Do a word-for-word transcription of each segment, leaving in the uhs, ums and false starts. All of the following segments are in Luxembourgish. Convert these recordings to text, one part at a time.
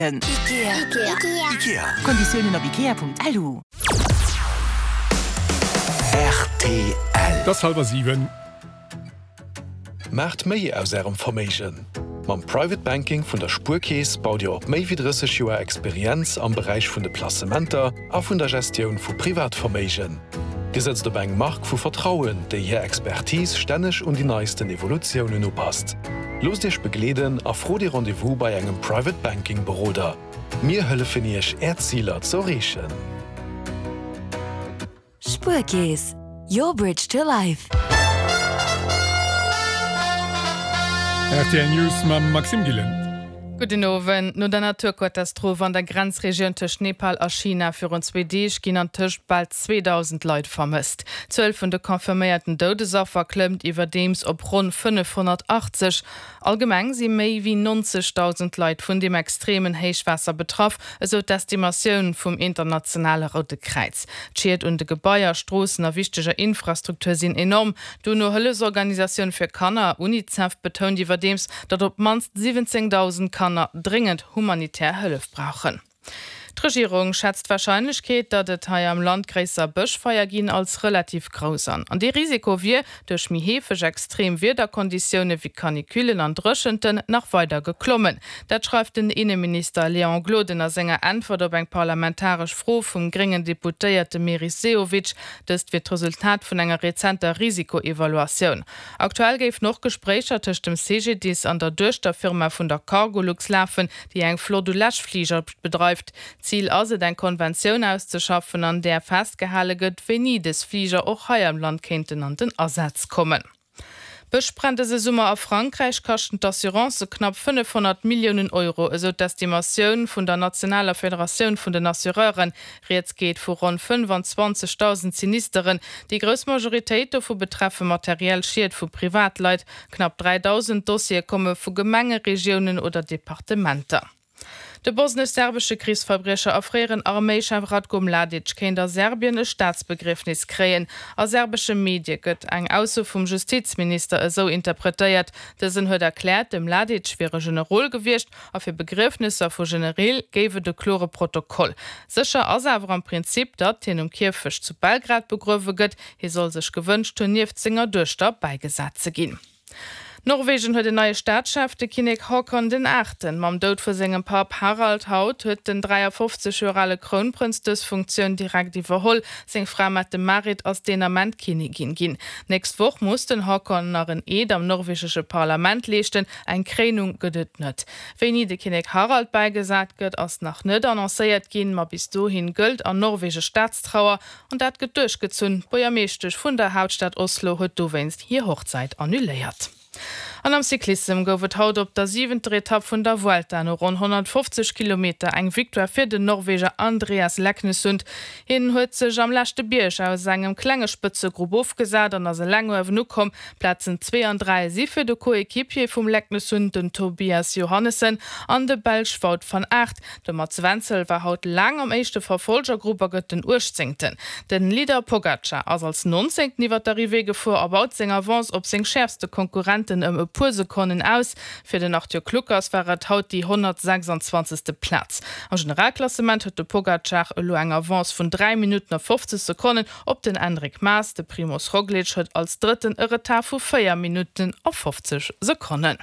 Ikea. Ikea. Konditiounen op ikea.lu. Rtl. Et ass hallwer siwen. Maacht méi aus Ärem Verméigen! Mam Private Banking vun der Spuerkeess baut Dir op méi wéi drësseg Joer Experienz am Beräich vun de Placementer a vun der Gestioun vu Privatverméigen. Dir sëtzt op eng Mark vu Vertrauen, déi hir Expertise stänneg un déi neisten Evolutiounen upasst. Loosst Iech begleeden a frot Ee Rendez-vous bei engem Private Banking Beroder. Mir hëllefen Iech, Är Ziler z'erreechen. Spuerkeess, your bridge to life. Rtl News mam Maxime Gillen. Gudden Owend. No der Naturkatastroph an der Grenzregioun tëscht Nepal a China virun zwee Deeg ginn antëscht bal zweedausend Leit vermësst. D'Zuel vun de confirméierten Doudesaffer klëmmt iwwerdeems op ronn fënnefhonnertachtzeg. Allgemeng si méi wéi nonzegdausend Leit vun deem extremen Héichwaasser betraff, esou d'Estimatioun vum internationale Roude Kräiz. D'Schied un de Gebaier, Stroossen a wichteger Infrastruktur sinn enorm. D'UNO-Hëllefsorganisatioun fir Kanner, Unicef, betount iwwerdeems, datt op d'mannst siwwenzéngdausend Kanner dréngend humanitär Hëllef brauchen. D'Regierung schätzt d'Warscheinlechkeet, datt et hei am Land gréisser Bëschfeier ginn, als relativ grouss an. An dee Risiko wier duerch méi heefeg extrem Wiederkonditioune wéi Canicullen an Dréchenten nach weider geklommen. Dat schreift den Inneminister Léon Gloden a senger Äntwert op eng parlamentaresch Fro vum gréngen Deputéierte Meris Sehovic. Dëst wier d'Resultat vun enger rezenter Risikoevaluatioun. Aktuell géifen och Gespréicher tëscht dem C G D I S an der Duechterfirma vun der Cargolux lafen, déi eng Flott u Läschfliger bedreift. Zil ass et, eng Konventioun auszeschaffen, an där festgehale gëtt, wéini dës Fliger och hei am Land kéinten an den Asaz kommen. D'Bëschbränn dëse Summer a Frankräich kaschten d'Assurancë knapp fënnefhonnert Milliounen Euro, esou d'Estimatioun vun der nationaler Federatioun vun den Assureuren. Rieds geet vu ronn fënnefanzwanzegdausend Sinisteren. Déi grouss Majoritéit dovu betreffe materiell Schied vu Privatleit. Knapp dräidausend Dossiere komme vu Gemenge, Regiounen oder Departementer. De bosnesch-serbesche Krichsverbriecher a fréieren Arméichef Ratko Mladic kéint a Serbien e Staatsbegriefnis kréien. A serbesche Medie gëtt eng Ausso vum Justizminister esou interpretéiert. Dësen huet erkläert, de Mladic wier e Generol gewiescht a fir Begriefnesser vu Genereel géif et e klore Protokoll. Sécher ass awer am Prinzip, datt hien um Kierfecht zu Belgrad begruewe gëtt. Hie soll sech gewënscht hunn, nieft senger Duechter bäigesat ze ginn. Norwegen huet en neie Staatschef, de Kinnek Haakon den Aachten. Mam Doud vu sengem Papp Harald haut huet den dräiafofzeg Joer ale Krounprënz dës Funktioun direkt iwwerholl. Seng Fra Mette-Marit ass deen Ament Kinnigin ginn. D'nächst Woch muss den Haakon nach en Eed am norwegesche Parlament leeschten, eng Kréinung gëtt et net. Wéini de Kinnek Harald bäigesat gëtt, ass nach net annoncéiert ginn, ma bis dohin gëllt an Norwege Staatstrauer an dat gëtt duerchgezunn. D'Buergermeeschtesch vun der Haaptstad Oslo huet dowéinst hir Hochzäit annuléiert. An am Cyclissem gouf et haut op der siwenter Etapp vun der Vuelta no ronn honnertfofzeg Kilometer eng Victoire fir den Norweger Andreas Leknessund. Hien huet sech am leschte Bierg aus engem klenge Spëtzegrupp ofgesat an ass eleng uewen ukomm. Plazen zwee an dräi si fir de Coequipier vum Leknessund, den Tobias Johannessen, an de Belsch Wout van Aert. De Mats Wenzel war haut laang am éischte Verfolgergrupp a gëtt den Uechtzéngten. Den Leader Pogacar ass als Nonzéngten iwwer d'Arrivée gefuer a baut seng Avance op seng schäerfste Konkurrenten ëm e puer Sekonnen aus. Fir den Arthur Kluckers war et haut déi honnertsechsanzwanzegste Plaz. Am Generalklassement huet de Pogacar elo eng Avance vun dräi Minutten a fofzeg Sekonnen op den Enric Mas. De Primoz Roglic huet als Drëtten e Retard vu véier Minutten a fofzeg Sekonnen.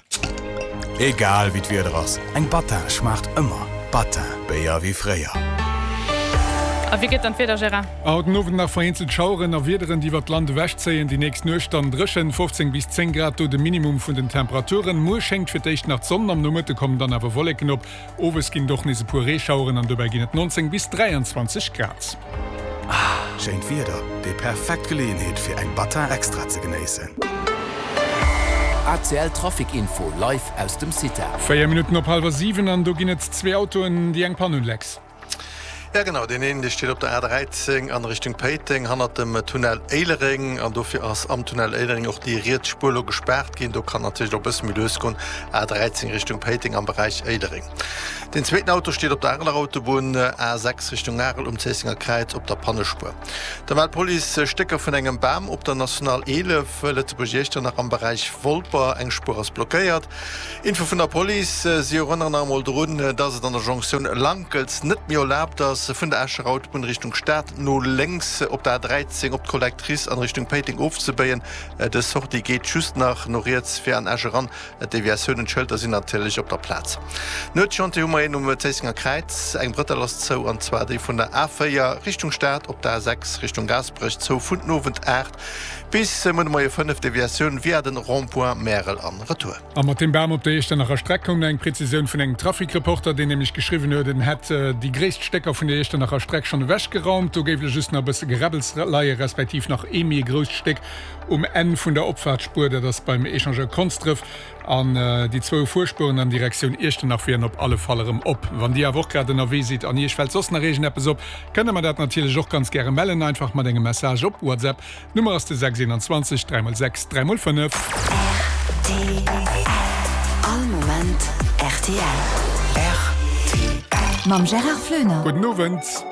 Egal wéi d'Wieder ass, eng Battin schmaacht ëmmer. Battin, Béier wéi fréier. A wéi gëtt dann d'Wieder, Gérard? Haut den Owend nach vereenzelt Schaueren a Wiederen, déi iwwert d'Land ewechzéien. Déi nächst Nuecht dann dréchen, fofzéng bis zéng Grad, do de Minimum vun den Temperaturen. Muer schéngt fir d'éischt nach d'Sonn, am Nomëtte kommen dann awer Wolleken op. Owes ginn et och nees e puer Reeschaueren an dobäi ginn et neunzéng bis dräianzwanzeg Grad. Schéint Wieder, déi perfekt Geleeënheet fir eng Battin Extra ze genéissen. A C L Trafic Info live aus dem CITA. Véier Minutten op hallwer siwen an do ginn et zwee Autoen, déi eng Pann hunn, Lex. Ja genau, deen een dee steet op der A dräizéng an Richtung Péiteng hannert dem Tunnel Éilereng an dofir ass am Tunnel Éilereng och déi riets Spuer lo gespaart ginn. Do kann natierlech och e bësse méi lues goen, A dräizéng Richtung Péiteng am Beräich Éilereng. Deen zweeten Auto steet op der Areler Autobunn, A sechs Richtung Arel um Zéissenger Kräiz op der Pannespuer. Da mellt d'Police Stécker vun engem Bam op der National eelef, Lëtzebuerg-Iechternach am Beräich Wolper. Eng Spuer ass blockéiert. Info vun der Police, Si erënneren nach emol drun, dass et an der Jonktioun Lankels net méi erlaabt ass, vun der Escher Autobunn Richtung Stad no lénks op der A dräizéng op d'Collectrice an Richtung Péiteng ofzebéien. Dës Sortie geet just nach no riets fir an Esch eran. D'Deviatiounen, d'Schëlter sinn natierlech op der Plaz. Nuetschantier hu mer een um Zéissenger Kräiz. Eng Brëttel ass zou, an zwar déi vun der A véier Richtung Stad op der A sechs Richtung Gaasperech, zou vun den Owend aacht bis muer de Moie fënnef, Deviatioun via den Rond-point Märel an Retour. A mat deem Bam op der Iechternacher Streck koum nach eng Prezisioun vun engem Trafic-Reporter, deen nämlech geschriwwen huet, en hätt déi gréisst Stécker vun der Iechternacher Streck schonn ewechgeraumt. Do géif elo just nach e bësse Geräbbels leien, respektiv nach ee méi grousst Stéck um Enn vun der Opfaartsspuer, dat ass beim Echangeur Konsdref. An déi zwou Fuerspueren an Direktioun Iechternach wieren op alle Fall erëm op. Wann Dir awer och grad ënnerwee sidd an Iech fält soss nach iergendeppes op, kënnt Der mer dat natierlech och ganz gäre mellen, einfach mat engem Message op WhatsApp. D'Nummer ass de sechs eenanzwanzeg dräi mol sechs dräi mol fënnef. Rtl, All Moment rtl. Rtl. Mam Gérard Flöner. Gudden Owend.